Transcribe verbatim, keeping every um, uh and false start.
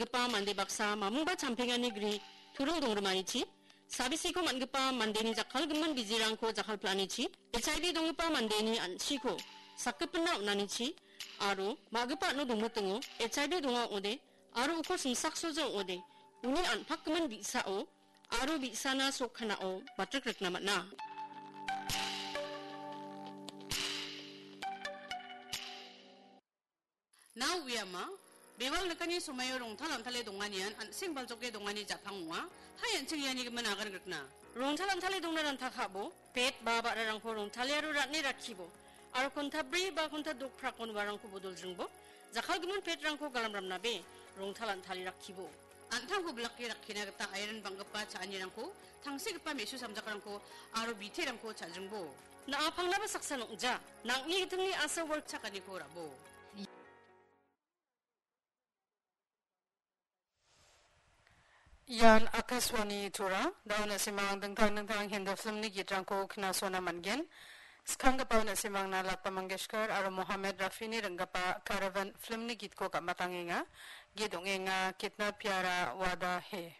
Gipa mande baksa mamungba champengani gri turing dongrimanichi, sabisiko man·gipa mandeni jakkalgimin bijirangko jakkalpilanichi, H I V donggipa mandeni an·chiko sakgipinna on·anichi, aro ma·gipa ano dongmitingo H I V donga ong·ode, aro uko simsaksoja ong·ode, uni an·pakgimin bi·sao aro bi·sana sok kanao matrik rikna man·a. Nao uiama, bewal nikani somaio rongtal antale donganian an·seng baljoke dongani ja·pang ong·a, hai an·ching iani gimin agan rikna. Rongtal antale dongna ranta ka·bo, pet ba ba·rarangko rongtale aro ran·e rakkibo, aro konta bri ba konta dokprakon uarangko bodoljringbo, jakkalgimin petrangko galamramnabe, rongtal antale rakkibo. An·tangko bilake rakkina gita airan bang·gipa cha·anirangko, tangsekgipa me·su samjakrangko aro biterangko cha·jringbo. Na·a pangnaba saksa nong·ja, nang·ni gitingni asa work chakaniko ra·bo. Ian Akashvani Tura, da·o na·simang dingtang dingtang Hindi filmni gitrangko knasona man·gen. Skanggipa na·simangna Lata Mangeshkar aro Mohammed Rafini ringgipa Caravan filmni gitko gam·atangenga. Git ong·enga Kitna Pyara Wada Hai.